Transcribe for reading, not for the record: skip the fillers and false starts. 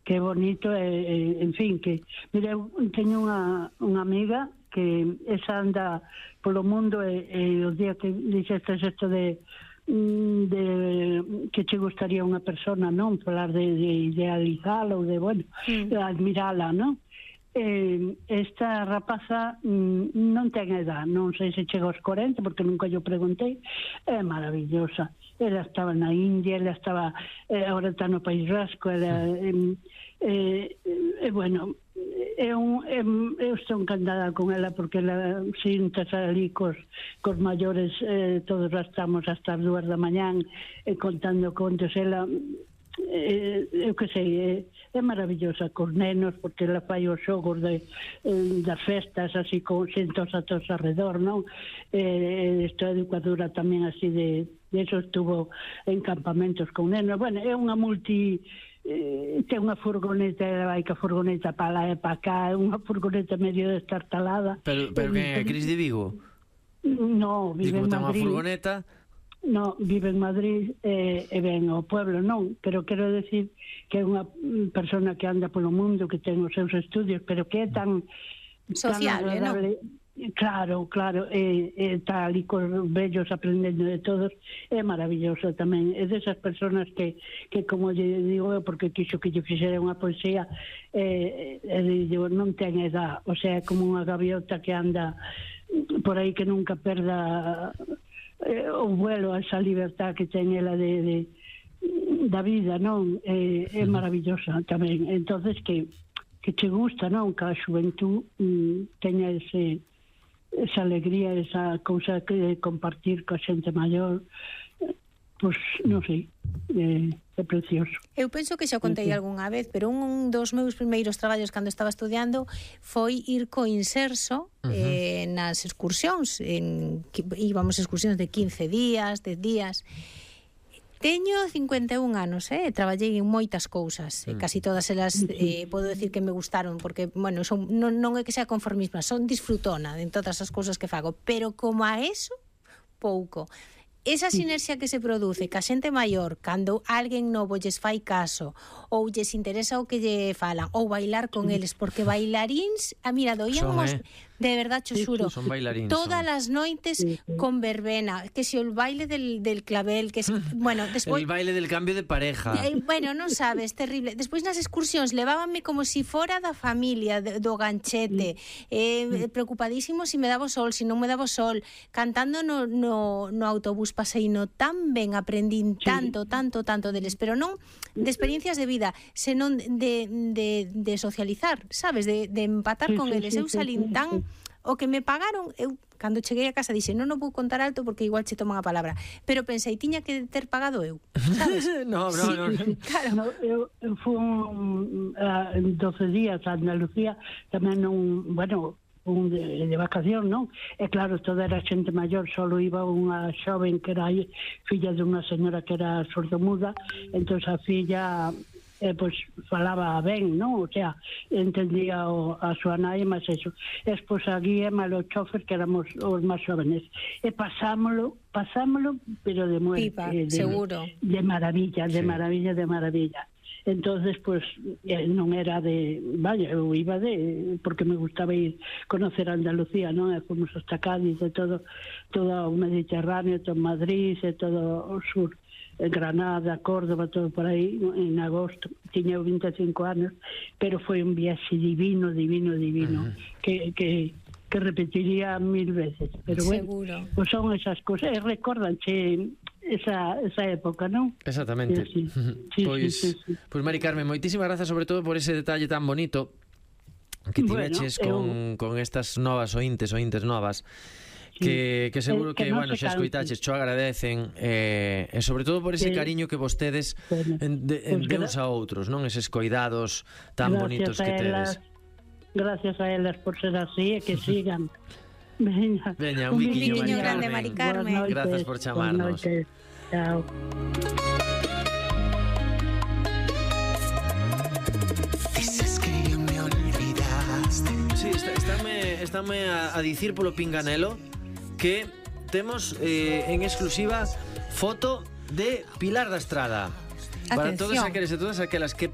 que bonito, en fin, que mira, eu teño unha amiga que esa anda polo mundo e os días que dixeste isto de que che gustaría unha persona, non? Falar de idealizala ou de, bueno, admirala, non? Esta rapaza non ten edad, non sei se chega aos 40 porque nunca yo preguntei, é maravillosa. Ela estaba na India, ela estaba agora está no País Vasco, ela bueno, eu estou encantada con ela porque ela sintas ali cos maiores, todos estamos hasta as 2 da mañán contando contos. Ela eu que sei, é maravillosa cos nenos porque ela fai os xogos das festas así con xentos a todos alrededor, non? Esta educadora tamén así de eso, estuvo en campamentos con nenos. Bueno, é unha ten unha furgoneta, vai que a furgoneta para lá e para cá, unha furgoneta medio destartalada. Pero que é Cris de Vigo? No, vive en Madrid. Ten unha furgoneta? No, vive en Madrid e ven ao pueblo, non, pero quero decir que é unha persona que anda polo mundo, que ten os seus estudios, pero que é tan sociable, tan agradable, non? Claro, está ali cos vellos aprendendo de todos, é maravilloso tamén. É desas personas que como lle digo eu, porque quixo que lle fixera unha poesía, digo, non ten edad, o sea, como unha gaviota que anda por aí que nunca perda o vuelo, esa libertad que ten ela da vida, non? É maravillosa tamén. Entonces que che gusta, non? Que a xuventud teña esa alegría, esa cousa que compartir coa xente maior, pois non sei, é precioso. Eu penso que xa contei algunha vez, pero un dos meus primeiros traballos cando estaba estudiando foi ir co Inserso nas excursións, íbamos excursións de 15 días, 10 días. Teño 51 anos, traballei en moitas cousas, casi todas elas podo decir que me gustaron, porque, bueno, non é que sea conformisma, son disfrutona en todas as cousas que fago, pero como a eso, pouco. Esa sinerxia que se produce ca xente maior cando alguén novo lles fai caso ou lles interesa o que lle falan ou bailar con eles, porque bailaríns, mira, doíamos de verdad, cho xuro, todas as noites con verbena, que se o baile del clavel, que bueno, despois el baile del cambio de pareja, bueno, non sabes, terrible. Despois nas excursións levábanme como si fora da familia, do ganchete, preocupadísimo si me daba o sol, si non me daba o sol, cantando no autobús, paseino tan ben, aprendín tanto deles, pero non de experiencias de vida, senón de socializar, sabes, de empatar con eles. Eu salín tan o que me pagaron, eu cando cheguei a casa dixe, non o vou contar alto porque igual che toman a palabra, pero pensei, tiña que ter pagado eu, sabes? No. Claro, eu fui en 12 días a Andalucía, tamén de vacación, non? E claro, toda era xente maior, solo iba unha xoven que era filla de unha señora que era sordomuda, entón a filla pois falaba ben, non? O sea, entendía a súa nai, mas eso. Despois a guía, malo chofer, que éramos os máis jóvenes. E pasámolo, pero de muerte. Seguro. De maravilla. Entonces, pues, non era eu iba porque me gustaba ir conocer Andalucía, non? E fomos hasta Cádiz, e todo o Mediterráneo, todo Madrid, e todo o sur, Granada, Córdoba, todo por aí, en agosto. Tiña 25 anos, pero foi un viaxe divino, que repetiría 1000 veces. Pero bueno, pues son esas cosas, e recórdanche esa época, non? Exactamente. Sí. Pois Mari Carmen, moitísimas grazas sobre todo por ese detalle tan bonito que tiveches con estas novas ointes novas, que seguro que bueno, xa escoitaches, cho agradecen, e sobre todo por ese cariño que vostedes de uns a outros, non? Eses coidados tan bonitos que tedes. Gracias a elas por ser así, e que sigan. Veña, un biquiño grande, Mari Carmen. Grazas por chamarnos. Chao. Dices que me olvidaste. Sí, estáme a dicir polo pinganelo que temos en exclusiva foto de Pilar da Estrada. Para todos aqueles e todas aquelas que